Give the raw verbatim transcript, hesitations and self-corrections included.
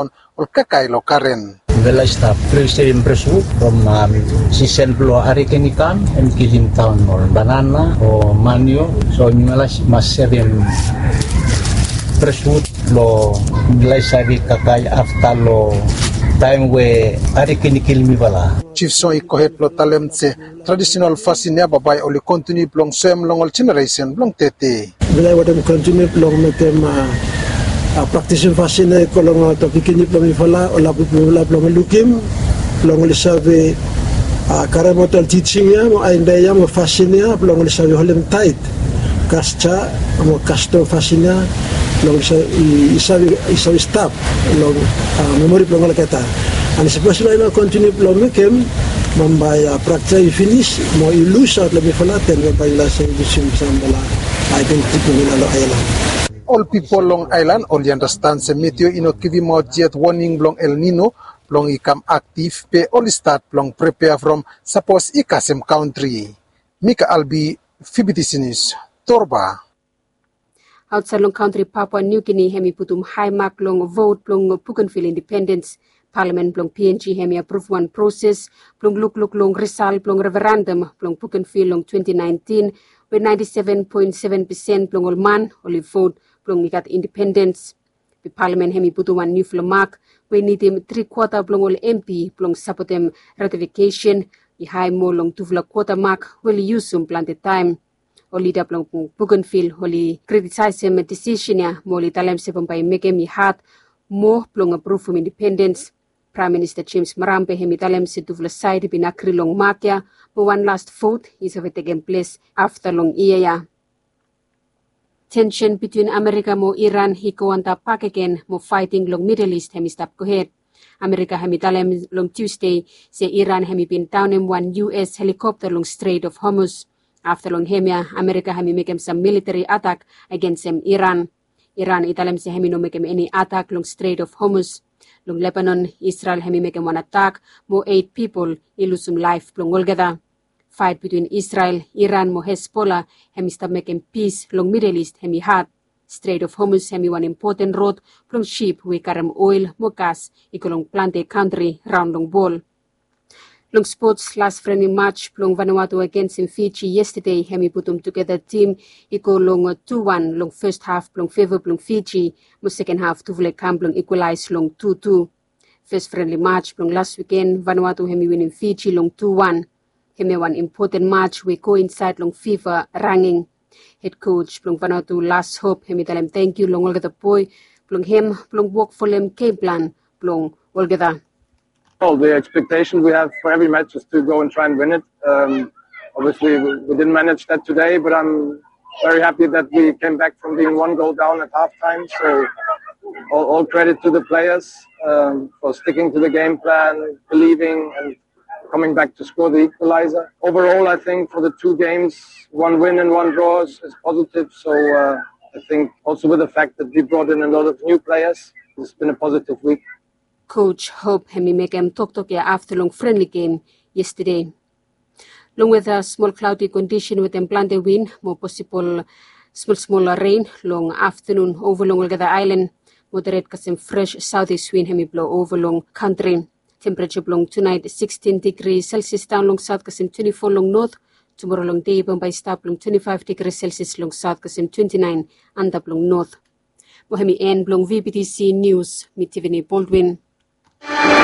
ol kakae long garen. Mifala i stap presem breswud from sisen blong hariken i kam, em kilim daon ol banana o manio. So mifala i mas sevem breswud blong mifala i save kakae afta long taem we hariken i kilim mifala. Jif Song i gohed blong talem se tradisenal fasin ya bambae oli kontiniu blong soem long ol jeneresen blong tede. Mifala i wantem kontiniu blong mekem praktisim fasin ya i go long ol pikinini blong mifala, ol laplap blong mifala blong lukim, blong oli save karem aot ol tijing ya mo aeda ya mo fasin ya blong oli save holem taet kasja mo kastom fasin ya blong oli save stap long memori blong olgeta. An sapos oli no kontiniu blong mekem, bambae praktis ya i finis mo i lusaot long mifala, den bambae mifala save lusim samfala aedentiti blong mifala long aelan. Ol pipol long aelan oli anastan se meteo i no givimaot yet woning blong El Nino blong i kam aktiv, be oli stat blong prepea from sapos i kasem kantri. Mika Albi, Fibitisinis, Torba. Aotsaed long kantri, Papua New Guinea hem i putum hae mak long vot blong Bougainville independens. Palamen blong P N G hem i apruv wan proses blong lukluk long risal blong referendum blong Bougainville long twenty nineteen, we ninety seven point seven percent blong ol man oli vot blong i gat independens. Be palamen hem i putum wan niufala mak we i nidim tri kwata blong ol M P blong sapotem ratifikesen i hae moa long tufala kwata mak we oli yusum plante taem. Ol lida blong Bougainville oli kritisaesem disisen ya mo oli talem se bambae i mekem i had moa blong apruvum independens. Praem Minista James Marape hem i talem se tufala saed i bin agri long mak ya mo wan las vot i save tekem ples afta long yia ya. Tensen bitwin Amerika mo Iran i go antap bakegen mo faeting long Midel Is hem i stap gohed. Amerika hem i talem long Tusde se Iran hem i bin daonem wan U S helikopta long Strait of Hormuz. Afta long hemia, Amerika hem i mekem sam militari atak agensem Iran. Iran i talem se hem i no mekem eni atak long Strait of Hormuz. Long Lebanon, Israel hem i mekem wan atak mo eit pipol i lusum laef blong olgeta. Faet bitwin Israel, Iran mo Hezbollah hem i stap mekem pis long Midel Is hem i had. Strait of Hormuz hem i wan impoten rod blong sip we i karem oel mo gas i go long plante kantri raon long wol. Long spots, las frenli maj blong Vanuatu agensem Fiji yestade hem i putum tugeta tim i go long tu wan long fes haf blong feva blong Fiji, mo seken haf tufala i kam blong ikwalaes long tu tu. Fes frenli maj blong las wiken, Vanuatu hem i winim Fiji long tu wan. Hemia wan impoten maj we i go insaed long fifa ranging. Hed koj blong Vanuatu, Lars Hope, hem i talem tangkiu long olgeta boe blong hem blong wok folem gem plan blong olgeta. Well, the expectation we have for every match is to go and try and win it. Um, obviously, we, we didn't manage that today, but I'm very happy that we came back from being one goal down at halftime. So, all, all credit to the players um, for sticking to the game plan, believing, and coming back to score the equalizer. Overall, I think for the two games, one win and one draw is, is positive. So, uh, I think also with the fact that we brought in a lot of new players, it's been a positive week. Koj Hope hem i mekem toktok ya afta long frenli gem yestade. Long weta, smol klaodi kondisen wetem plante win mo posibol smol smol ren long aftanun ova long olgeta aelan. Moderet kasem fres saotis win hem i blo ova long kantri. Tempereja blong tunaet sikstin digri selsias daon long saot kasem twenti fo long not. Tumora long dei bambae i stap long twenti faef digri selsias long saot kasem twenti naen antap long not. Mo hem i en blong V B T C Nius, mi Tiffany Baldwin.